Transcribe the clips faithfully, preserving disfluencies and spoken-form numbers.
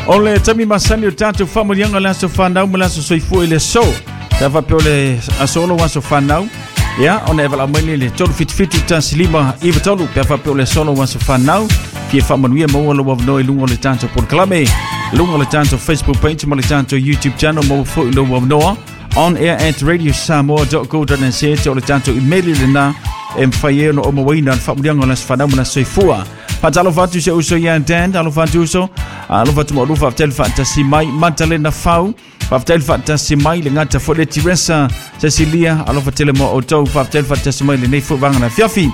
O le taimi masani o tatou faamanuiaga o le aso fanau ma le aso soifua i le aso. Sa faapea o le aso lou aso fanau. Ia, ona e valaau mai lea i le tolu fitu fitu tasi lima iva tolu pe a faapea o le aso lou aso fanau. Fia faamanuia maua lou avanoa i luga o le tatou polokalame, luga o le tatou Facebook page ma le tatou YouTube channel, maua foi lou avanoa on air at radio samoa dot co dot n z, o le tatou email lena e mafai ai ona ou mauaina le faamanuiaga o le aso fanau ma le aso soifua. Faatalofa atu si ou uso ia Dan, alofa atu uso, alofa atu maulu, faafetai le faatasi mai, Matalena Fau, faafetai le faatasi mai, le gata foi le Teresa Cecilia, alofa tele mo outou, faafetai le faatasi mai lenei foi vaega na afiafi.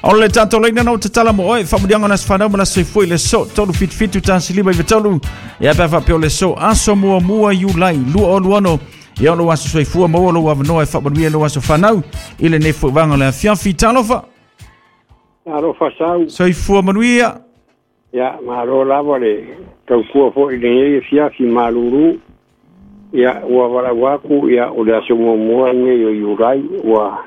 O le tatou laina na o tatala mo oe, faamanuiaga o le aso fanau ma le aso soifua i le aso, tolu fitu fitu tasi lima iva tolu, ia pe a faapea o le aso, aso muamua Iulai, lua olu ono, ia o lou aso soifua, maua lou avanoa e faamanuia lou aso fanau i lenei foi vaega o le afiafi. Talofa. Alofa sau. Soifua manuia. Ia, malo lava le tautua foi i lenei afiafi malulu. Ia, ua valaau atu, ia, o le aso muamua lenei o Iulai, ua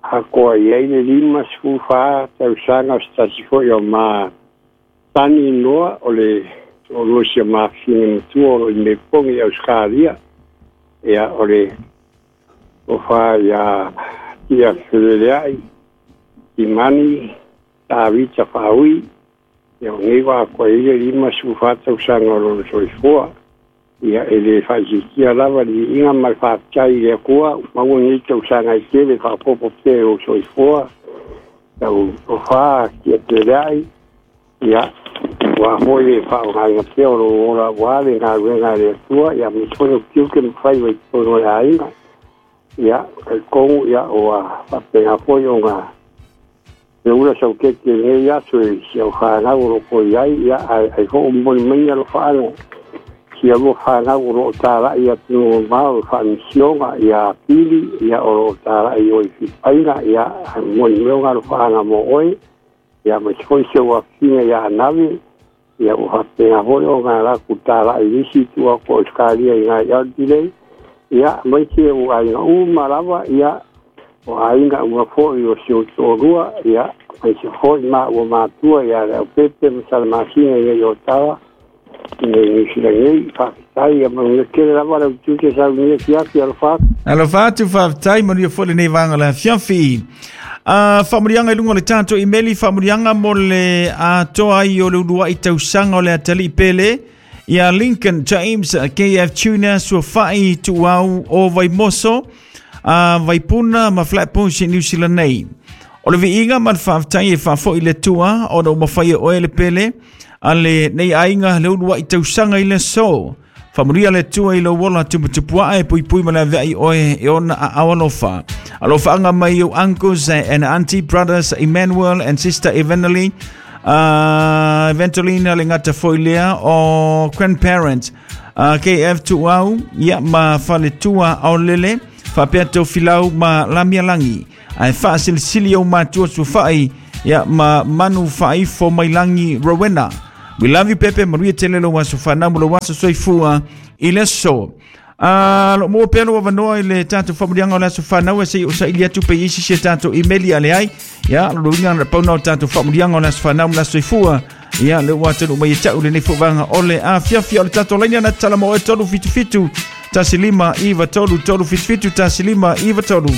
atoa i ai le lima sefulu fa tausaga o se tasi foi o ma tani inoa o le toalua si o mafafine matua o lo o i Mepogi i Ausetalia. Ia, o le tofa ia Tia Feleleai, Timani, Tavita Faaui, ia o nei ua atoa i ai le lima sefulu fa tausaga o lona soifua. Ia, e le faaitiitia lava le viiga ma le faafetai i le Atua, ua maua nei tausaga e tele faaopoopo pea i lou soifua, lau tofa Tia Feleleai, ia, aua foi le faaaogaina pea o lou ola aua le galuega a le Atua, ia aemaise foi o tiute ma faiva i totonu o le aiga. Ia, talitonu, ia, ua faapena foi ona le ula saukeke i lenei aso i si au fanau o lo o toe i ai, ia, ae ai foi o momoli mai alofaaga sia lua fanau o lo o talai atunuu mamao i faamisioga ia Pili, ia o lo o talai o i Filipaina, ia momoli mai ona alofaaga mo oe, ia aemaise foi si ou afafine ia Anave, ia ua faapena foi ona latou talai i isi itu atu o Ausetalia i ina i Adelaide, ia aemaise o aiga uma lava, ia o aiga uma foi o si ou toalua, ia aemaise foi ma ua matua ia Leaupepe ma Salamasina i nei Otawa i nei Niu Sila nei. Faafetai, ia manuia tele lava lau tiute sau i lenei afiafi. Alofa atu. Alofa atu, faafetai, manuia foi lenei vaega o le afiafi. Uh, faamanuiaga i luga o le tatou imeli, faamanuiaga mo le atoa ai o le uluai tausaga o le atalii pele ia Lincoln James K F Junior Suafai Tuau o Vaimoso, uh, Vaipuna ma Flatbush i New Zealand nei. O le viiga ma le faafetai e faafoi le Atua ona ua mafai e oe le pele a lenei aiga le uluai tausaga i le aso. Faamanuia le Atua i lou ola tuputupuae e puipui ma le aveai oe e ona aao alofa. Alofaaga mai ou uncles and auntie, brothers Emmanuel and sister Evangeline, uh, Evangelina, le gata foi lea o grandparents uh, K F Tuau ia ma Faletua Aolele faapea Tofilau ma Lamialangi ae faasilisili ou matua Suafai ia ma Manu Faaifo Mailangi Rowena. We love you, Pepe. Manuia tele lou aso fanau ma lou aso soifua i le aso. Uh, lo maua pea lou avanoa i le tatou faamanuiaga o le aso fanau e se'i o saili atu pe i isi si a tatou imeli a leai. Ia, lo luiga na pauna o tatou faamanuiaga o le aso fanau ma le aso soifua. Ia, le ua atonu mai e ta'u lenei foi vaega o le afiafi o le tatou laina na tatala mo oe tolu fitu fitu tasi lima iva tolu tolu fitu fitu tasi lima iva tolu.